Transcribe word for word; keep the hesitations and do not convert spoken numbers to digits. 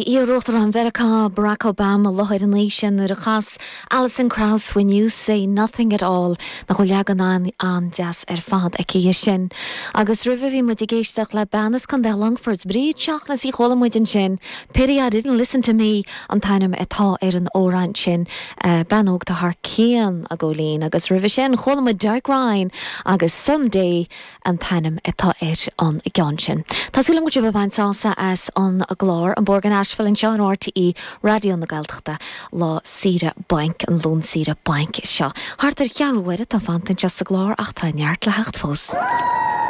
Iar-Uachtarán Mheiriceá Barack Obama láthair an oíche nuair a chas Alison Krauss when you say nothing at all nach bhfuil leagan an an-deas ar fad aici sin. Agus roimhe bhí muid ag éisteacht le bean as Contae Longfoirt Bríd Seachnas í chuala muid ansin, Pity I didn't listen to me an t-ainm atá ar an amhrán sin uh, bean óg thar cionn a ggólín agus roimhe sin chuala muid Derek Ryan agus someday an t-ainm atá ar an gceann sin. Tá súil agam go bhfuil baint sásamh as an gclár an Bord Ashfill anseo ar RTÉ Raidió na Gaeltachta lá saoire bainc an Luan saoire bainc seo. Thart ar cheathrú uaire atá fanta sa gclár ach tá neart le theacht fós.